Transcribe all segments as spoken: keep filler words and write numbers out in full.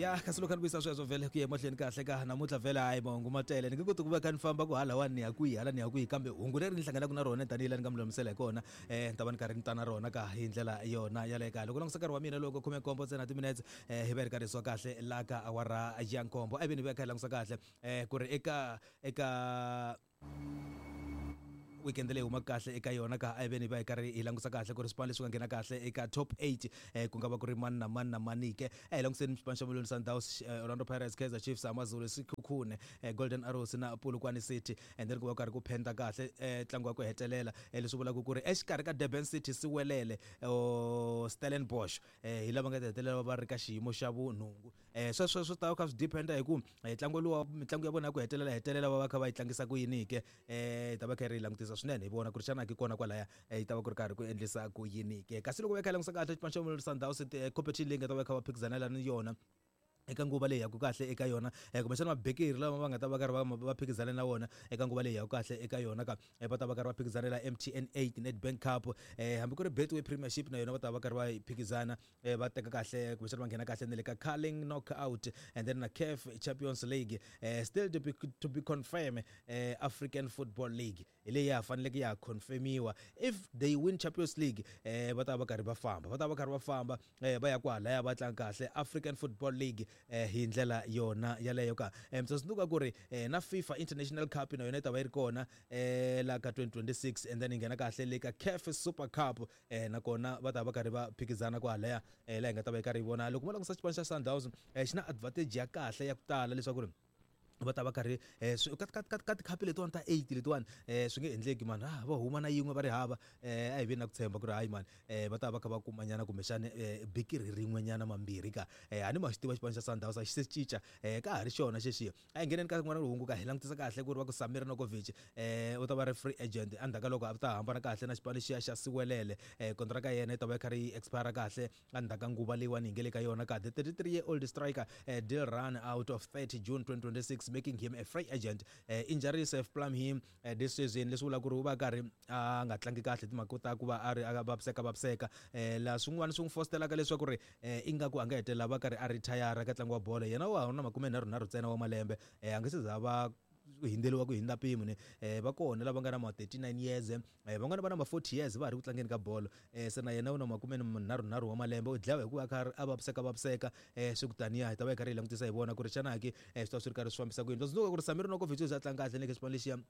Ya, kasi loko ni vuyisa sweswo vhele ku ya emahlweni kahle ka namuntlha vhele, hayi, mahungu ma tele. Ni nge koti ku va kha ni famba ku hala wani ni ya kwihi, hala ni ya kwihi, kambe hungu leri ni hlanganaka na rona tanihi laha ni nga mi lulamisela hi kona, um ni ta va ni karhi ni ta na rona ka hi ndlela yona yaleyo. Ka loko langutisa nkarhi wa mina loko khume nkombo ntsena timinetse, um hi va hi ri karhi hi suka kahle la ka awara ya nkombo. A hi ve ni va kha hi langutisa kahle um ku ri eka eka weekend leyi humaka kahle eka yona ka, a hi veni hi va hi karhi hi langusa kahle ku ri swipano leswi nga nghena kahle eka top eight eh, ku nga va ku ri mani na mani na mani ke. A hi languseni xipano xa Mamelodi Sundowns, eh, Orlando Pirates, Kaizer Chiefs, AmaZulu, Sekhukhune, eh, Golden Arrows na Polokwane City. And then ku va karhi ku phenda kahle eh, ntlangu wa ku hetelela, eh, leswi vulaka ku ri exikarhi ka Durban City, Siwelele o Stellenbosch, eh, hi lava nga ta hetelela va ri ka xiyimo xa vunhungu. eh, sweswo swi ta kha swi dependa hi ku eh, ntlangu lowa, mitlangu ya vona ya ku hetelela hetelela va va kha va yi tlangisa ku yini ke. eh, hi ta va kha ri yi langutisa swinene, hi vona ku ri xana ki kona kwalaya eh, yi ta va ku ri karhi ku endlisa ku yini ke. Kasi loko va kha hi langutisa kahle xipano xa Mamelodi Sundowns, eh, competition leyi nga ta va kha va phikizanela ni yona eka nguva leyi yaku kahle eka yona, eh, kumbexana mabekeri lama va nga ta va karhi va va phikizana na wona eka nguva leyi yaku kahle eka yona ka, eh, va ta va karhi va phikizanela M T N eight, Nedbank Cup, eh, hambi ku ri Betway Premiership na yona va ta va karhi va yi phikizana, eh, va teka kahle kumbexana va nghena kahle na le ka Carling Knockout, and then na CAF Champions League, eh, still to be, to be confirmed, eh, African Football League hi leyi ya ha faneleke ya confirmiwa. If they win Champions League, eh, va ta va karhi va famba va ta va karhi va famba eh, va ya kwalaya va tlanga kahle African Football League eh, hi ndlela yona yaleyo ka. eh, mi tsundzuka ku ri eh, na FIFA International Cup na yona yi ta va yi ri kona eh, la ka twenty twenty-six, and then yi nghena kahle le ka CAF Super Cup, eh, nakona va ta va karhi va phikizana kwalaya, eh, laha hi nga ta va yi karhi yi vona. Loko mo langutisa xipano xa Sundowns, eh, xi na advantage ya kahle ya ku tala leswaku ri va ta va karhi eh, swi- ka ka ka ka tikhapi letiwani ta eight letiwani, eh, swi nge endleki mani, ah, va huma na yin'we va ri hava. eh, a hi vi na ku tshemba ku ri hayi mani, eh, va ta va kha va kumanyana kumbexani eh, bikiri rin'wenyana mambirhi ka. eh, a ni ma xi tiva xipano xa Sundowns a xi se cinca, eh, ka ha ri xona xexiya. A hi ngheneni ka rin'wana hungu ka, hi langutisa kahle ku ri va ku Samir Nurkovic eh, u ta va ri free agent endzhaku ka loko a ta hambana kahle na xipano lexiya xa Siwelele. eh, kontraka ya yena yi ta va yi karhi yi expire kahle endzhaku ka nguva leyiwani hi nge le ka yona ka. The thirty-three year old striker eh, deal run out of thirty June twenty twenty-six, making him a free agent. eh, injuries have plumbed him eh, this season, leswi vulaka ku ri u va karhi a nga tlangi kahle timhaka ta ku va a ri a vaviseka vaviseka, eh, laha swin'wana swi n'wi fostelaka leswaku ri eh, ingaku a nga hetelela va karhi a retire ka ntlangu wa bolo. Yena wa ha ri na makume nharhu nharhu ntsena wa malembe, eh, a nge se za va hindeliwa ku hindza mpimo ni eh, va kona lava nga na ma thirty-nine years, eh, van'wana va na ma forty years va ha ri ku tlangeni ka bolo. eh, se na yena u na makume nharhu nharhu wa malembe, u dlawa hi ku va a kha a vaviseka vaviseka. eh, swi ku taniya hi ta va hi karhi hi langutisa hi vona ku ri xana ki eh, swi ta swi ri karhi swi fambisa ku yini. Tsundzuka ku ri Samir Nurkovic u za a tlanga kahle le ka xipano lexiya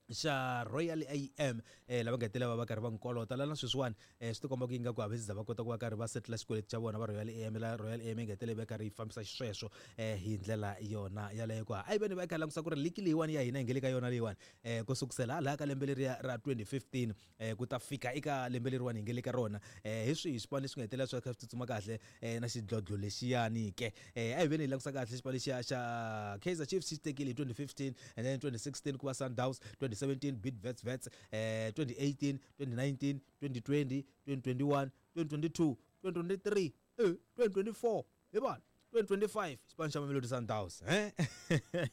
xa Royal A M, eh, lava nga hetelela va va karhi va n'wi kolota la na sweswiwani. eh, swi tikomba ku ingaku a va za va kota ku va karhi va setla xikweleti xa vona va Royal A M, la Royal A M yi nga hetelela yi va karhi yi fambisa xisweswo eh, hi ndlela yona yaleyo ku. A yi veni va kha langutisa ku ri ligi leyiwani ya hina hi nge le ka yona leyiwani, eh, ku sukusela hala ka lembe leriya ra twenty fifteen eh, ku ta fika eka lembe leriwani hi nge le ka rona, eh, hi swihi swipano leswi nga hetelela swi kha swi tsutsuma kahle eh, na xidlodlo lexiyani ke. eh, a hi veni hi langutisa kahle xipano lexiya xa Kaizer Chiefs xi tekile hi twenty fifteen, and then twenty sixteen ku va Sundowns, twenty seventeen Bidvest Wits, eh, twenty eighteen, twenty nineteen, twenty twenty, twenty twenty-one, twenty twenty-two, twenty twenty-three, eh, twenty twenty-four, hi vona twenty twenty-five xipano xa Mamelodi Sundowns, eh.